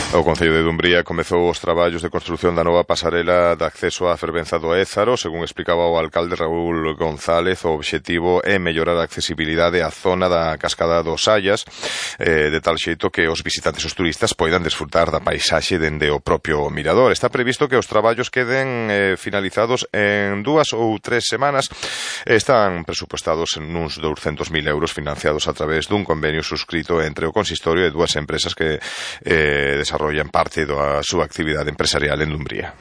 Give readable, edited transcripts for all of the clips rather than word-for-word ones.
O Concello de Dumbría comezou os traballos de construción da nova pasarela de acceso á fervenza do Ézaro. Según explicaba o alcalde Raúl González, o obxectivo é mellorar a accesibilidade á zona da cascada dos Sayas, de tal xeito que os visitantes, os turistas, poidan desfrutar da paisaxe dende o propio mirador. Está previsto que os traballos queden finalizados en 2 ou 3 semanas. Están presupuestados en uns 200.000 euros financiados a través dun convenio suscrito entre o consistorio e dúas empresas que desarrollan parte da súa actividade empresarial en Dumbría.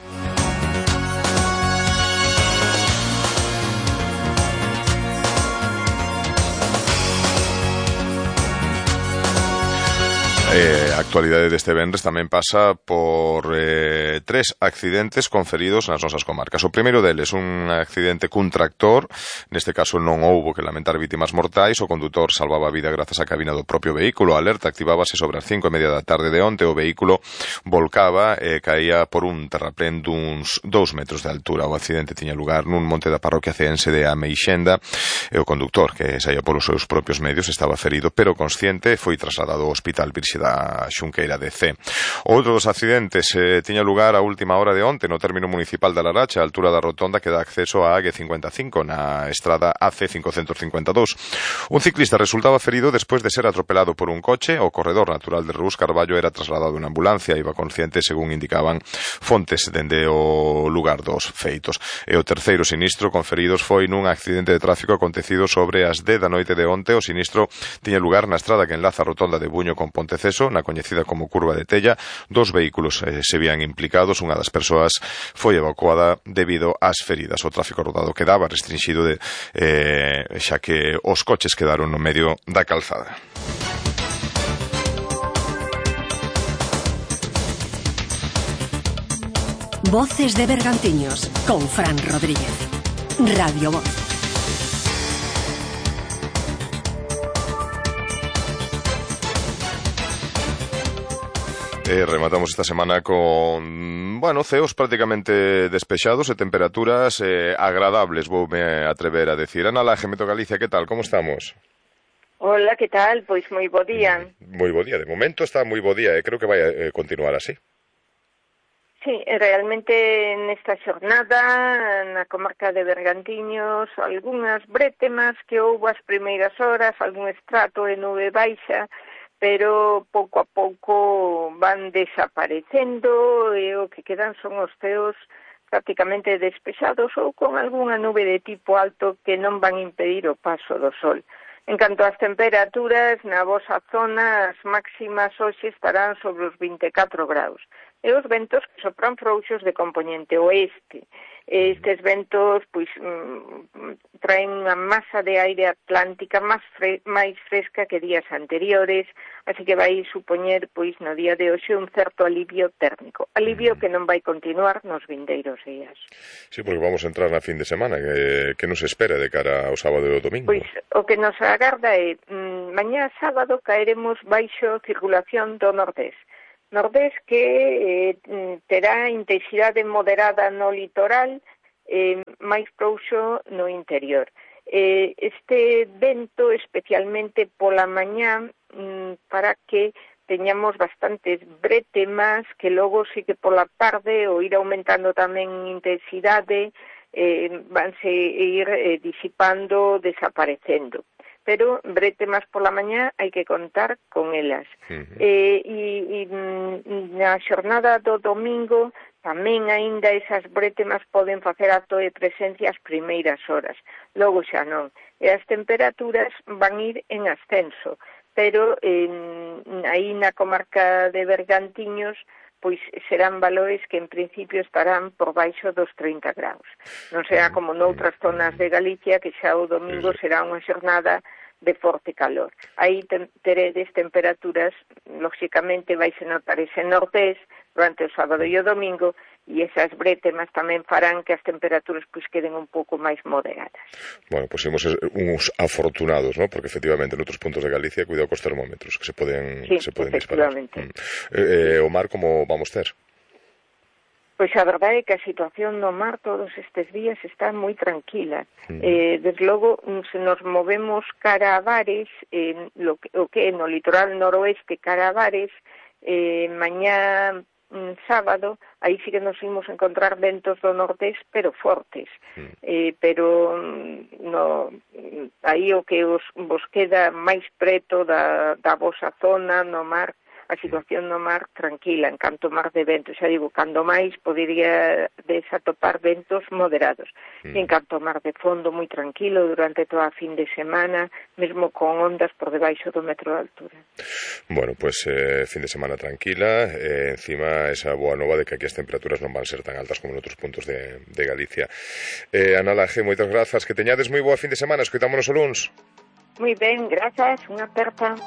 A actualidade deste venres tamén pasa por 3 accidentes con feridos nas nosas comarcas. O primeiro deles, un accidente cun tractor. Neste caso non houbo que lamentar vítimas mortais. O condutor salvaba a vida grazas á cabina do propio vehículo. A alerta activábase sobre as 5:30 da tarde de onte. O vehículo volcaba e caía por un terraplén duns 2 metros de altura. O accidente tiña lugar nun monte da parroquia ceense de Ameixenda e o conductor, que saía polos seus propios medios, estaba ferido pero consciente e foi trasladado ao Hospital Virxe da Xunqueira de C. Outro dos accidentes tiña lugar a última hora de onte no término municipal de Laracha, a altura da rotonda que dá acceso á AG55 na estrada AC 552. Un ciclista resultaba ferido despois de ser atropelado por un coche. O corredor natural de Rus Carballo era trasladado en ambulancia, iba consciente, según indicaban fontes dende o lugar dos feitos. E o terceiro sinistro con feridos foi nun accidente de tráfico acontecido sobre as 10 da noite de onte. O sinistro tiña lugar na estrada que enlaza a rotonda de Buño con Ponteceso, na coñecida como Curva de Tella. 2 vehículos se vían implicados. Unha das persoas foi evacuada debido ás feridas. O tráfico rodado quedaba restringido xa que os coches quedaron no medio da calzada. Voces de Bergantiños con Fran Rodríguez. Radio Voz. Rematamos esta semana con, ceos prácticamente despexados e temperaturas agradables, voume atrever a decir. Ana Laje, Meteo Galicia, que tal? Como estamos? Hola, que tal? Pois moi bo día. Moi bo día, de momento está moi bo día e creo que vai a continuar así. Sí, realmente nesta xornada na comarca de Bergantiños algunhas brétemas que houbo as primeiras horas, algún estrato de nube baixa, pero pouco a pouco van desaparecendo e o que quedan son os ceos prácticamente despexados ou con algunha nube de tipo alto que non van impedir o paso do sol. En canto ás temperaturas, na vosa zona as máximas hoxe estarán sobre os 24 graus. E os ventos que sopran frouxos de compoñente oeste. Estes ventos traen unha masa de aire atlántica máis fresca que días anteriores, así que vai supoñer no día de hoxe un certo alivio térmico. Alivio que non vai continuar nos vindeiros días. Sí, porque vamos a entrar na fin de semana. Que nos espera de cara ao sábado e ao domingo? Pois o que nos agarda é mañá sábado caeremos baixo circulación do nordés. Nordés que terá intensidade moderada no litoral, máis frouxo no interior. Este vento, especialmente pola mañá, para que teñamos bastantes brétemas que logo sí que pola tarde, ou ir aumentando tamén intensidade, vanse ir disipando, desaparecendo. Pero brétemas pola mañá hai que contar con elas. E na xornada do domingo tamén aínda esas brétemas poden facer acto de presencia as primeiras horas. Logo xa non. E as temperaturas van ir en ascenso, pero aí na comarca de Bergantiños pois serán valores que en principio estarán por baixo dos 30 graus. Non será como noutras zonas de Galicia, que xa o domingo será unha xornada de forte calor. Aí teredes temperaturas, lóxicamente vais a notar ese nordés durante o sábado e o domingo, e esas brétemas tamén farán que as temperaturas queden un pouco máis moderadas. Bueno, pois imos uns afortunados, ¿no? Porque efectivamente noutros puntos de Galicia, cuidado cos termómetros que se poden disparar. O mar como vamos ter? Pois a verdade é que a situación no mar todos estes días está moi tranquila. Desde logo, se nos movemos cara a Bares, o que é no litoral noroeste cara a Bares, Mañá sábado, aí sí que nos imos encontrar ventos do nordés, pero fortes. Pero aí o que vos queda máis preto da vosa zona no mar, a situación no mar tranquila, en canto mar de vento, xa digo, cando máis podería desatopar ventos moderados. E en canto mar de fondo moi tranquilo durante toda a fin de semana, mesmo con ondas por debaixo do metro de altura. Bueno, pues fin de semana tranquila, encima esa boa nova de que aquí as temperaturas non van ser tan altas como en outros puntos de Galicia. Ana Laje, moitas grazas, que teñades moi boa fin de semana, escoitámonos o luns. Moi ben, grazas, unha aperta.